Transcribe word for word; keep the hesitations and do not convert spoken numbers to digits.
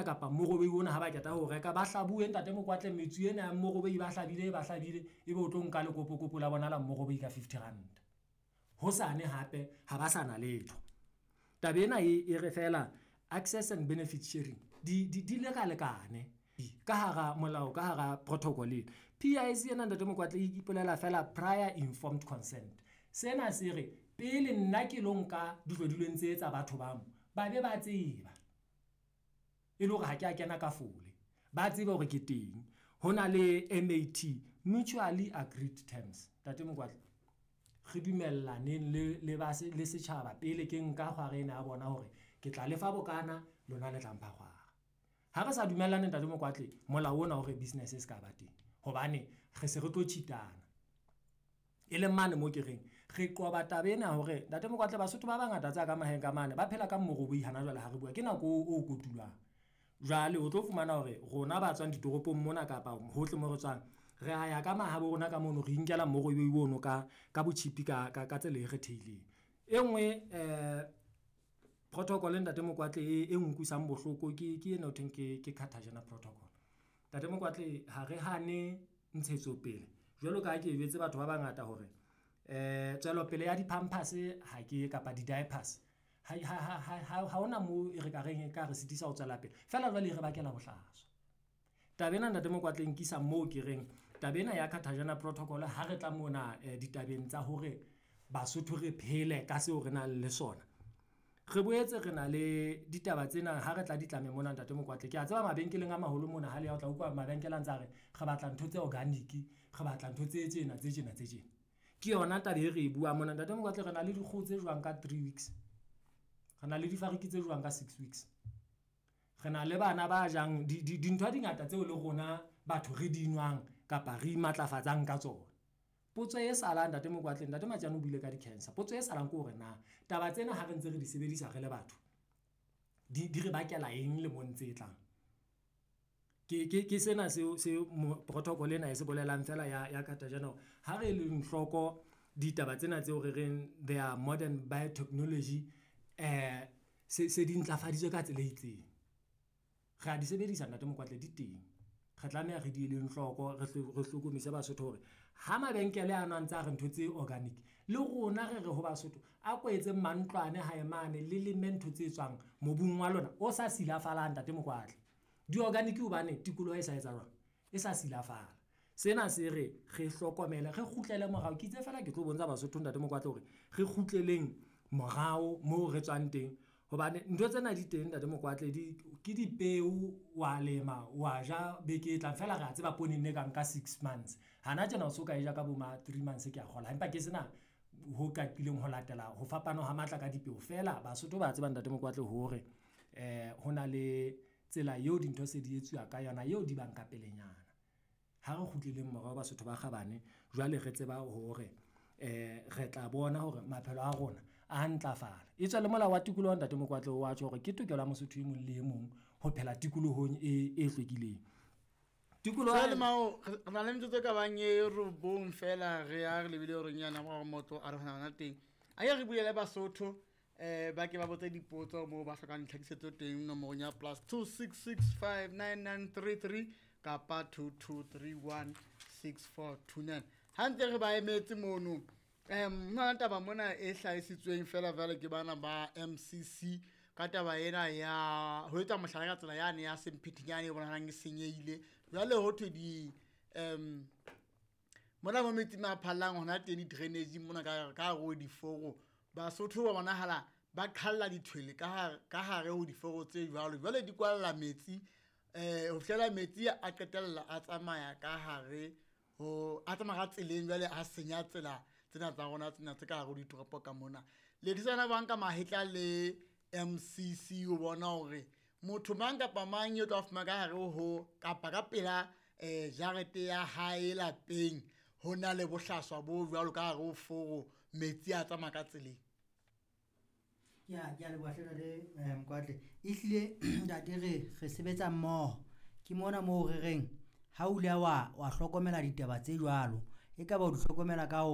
kapa morobei ona ha ba qeta ho reka ba hlabuwe ntate Mokwatle metsu ena ya morobei ba hlabile ba hlabile ebe o tlo nka lekopokopo la bona la morobei ka fifty rand. Hosane hape ha ba sa na letho. Taba ena e e re fela access and benefit sharing di di di lekalekane ka hara molao ka hara protocol ena. P I C ena, ntate Mokwatle, e ipolela fela prior informed consent. Sena se re pele nna ke lo nka dihlodilweng tse tsa batho ba mo ba be ba tseba e le hore ha ke a kena ka fole ba tsebe hore ke teng. Ho na le M A T, mutually agreed terms. Ntate Mokwatle, re dumellaneng le le ba le setjhaba pele ke nka kgwara ena ya bona hore ke tla lefa bokana, lona le tla mpha kgwara. Ha re sa dumellane, ntate Mokwatle, molao ona hore business e se ka ba teng hobane re se re tlo cheat-ana e leng mane mo ke reng re qoba taba ena hore, ntate Mokwatle, Basotho ba bangata tsa ka maheng ka mane ba phela ka moroboi. Hana jwale ha re bua ke nako o kotulwang. Jwale o tlo fumana hore rona ba tswang ditoropong mona kapa hohle mo re tswang re a ya ka mahabo rona ka mono re inkela morobei ono ka ka botjhipi ka ka tsela e kgethehileng. E nngwe eh protocol, ntate Mokwatle, e e nkutlwisang bohloko ke ke ena ho thweng ke ke Cartagena Protocol. Ntate Mokwatle, ha re hane ntshetsopele jwalo ka ha ke jwetse batho ba bangata hore eh tswelopele ya di-pampers ha ke kapa di-diapers ha ha ha ha hona moo e re ka reng e ka re sitisa ho tswela pele feela jwale e re bakela bohlaswa. Taba ena, ntate Mokwatle, nkisa moo ke reng taba ena ya Cartagena Protocol ha re tla mona ditabeng tsa hore Basotho re phele ka seo re nang le sona. Re boetse re na le ditaba tsena ha re tla ditlameng mona, ntate Mokwatle. Ke a tseba mabenkeleng a maholo mona ha le ya o tla utlwa mabenkele a ntse a re re batla ntho tse organic, re batla ntho tse tjena tse tjena tse tjena. Ke yona taba e re e buang mona, ntate Mokwatle. Re na le dikgoho tse jwang ka three weeks, re na le difariki tse jwang ka six weeks, re na le bana ba jang dintho di ngata tseo le rona batho re di nwang kapa re imatlafatsang ka tsona. Potso e salang, ntate Mokwatle, ntate Matjane o buile ka di-cancer. Potso e salang ke hore na taba tsena ha re ntse re di sebedisa re le batho di di re bakela eng lemong tse tlang? Ke ke ke sena seo seo protocol ena e se bolelang fela ya ya Cartagena. Ha re leng hloko ditaba tsena tseo re reng they are modern biotechnology eh se se di ntlafaditswe ka tsela e itseng. Re a di sebedisa, ntate Mokwatle, di teng. Re tlameha re di eleng hloko re re hlokomise Basotho hore ha mabenkele ano a ntse a re ntho tse organic le rona re re ho Basotho a ko etseng mantlwane hae mane le leme ntho tse tswang mobung wa lona o sa silafalang. Ntate Mokwatle, di-organic hobane tikoloho e sa etsa jwang e sa silafala. Sena se re re hlokomele re kgutlele morao. Ke itse fela ke tlo bontsha Basotho, ntate Mokwatle, hore re kgutleleng morao moo re tswang teng hobane ntho tsena di teng, ntate Mokwatle. Di ke dipeo wa lema wa ja beke e tlang fela. Re a tseba poone ne ka nka six months hana tjena o so ka e ja ka bo ma three months. Ke a kgola empa ke sena ho qaqileng ho latela ho fapana ha matla ka dipeo fela. Basotho ba tseba, ntate Mokwatle, hore eh ho na le tsela eo dintho se di etsuwa ka yona eo di bang ka pelenyana. Ha re kgutleleng morao, Basotho ba kgabane. Jwale re tseba hore eh re tla bona hore maphelo a rona a ntlafala. E tswa le molao wa tikoloho, ntate Mokwatle, wa tjho hore ke tokelo ya Mosotho e mong le e mong ho phela tikolohong e e hlwekileng. Tikoloho Jwale mao re na le metsotso e ka bang e robong fela re ya re lebile hore nyana wa motho a re hona teng. A ye re bulele Basotho eh ba ke ba botse dipotso moo ba hlokang ditlhakisetso teng nomorong ya plus two six six five nine nine three three kapa two two three one six four two nine. Ha ntse re ba emetse mono um hona le taba mona e hlahisitsweng fela jwale ke bana ba M C C ka taba ena ya ho etsa mohlala ka tsela yane ya Semphetinyane e bonahalang e senyehile. Jwale ho thwe di um mona mo metsi a phallang hona teng di-drainage mona ka ka hare ho diforo Basotho ba bonahala ba qhalla dithwele ka hare ka hare ho diforo tse jwalo. Jwale di kwalla metsi eh ho fihlela metsi a qetella a tsamaya ka hare ho a tsamaya ka tseleng jwale a senya tsela tsena tsa rona tsena tse ka hare ho ditoropo ka mona. Le disana ba nka mahetla le M C C ho bona hore motho mang kapa mang eo tla fumana ka hare ho kapa ka pela eh jarete ya hae lapeng ho na le bohlaswa bo jwalo ka hare ho foro metsi a tsamaya ka tseleng. Ya, ke a leboha hle ntate eh, Mokwatle. Ehlile ntate re re sebetsa mmoho. Ke mona moo re reng ha o ile wa wa hlokomela ditaba tse jwalo, e ka ba o di hlokomela ka ho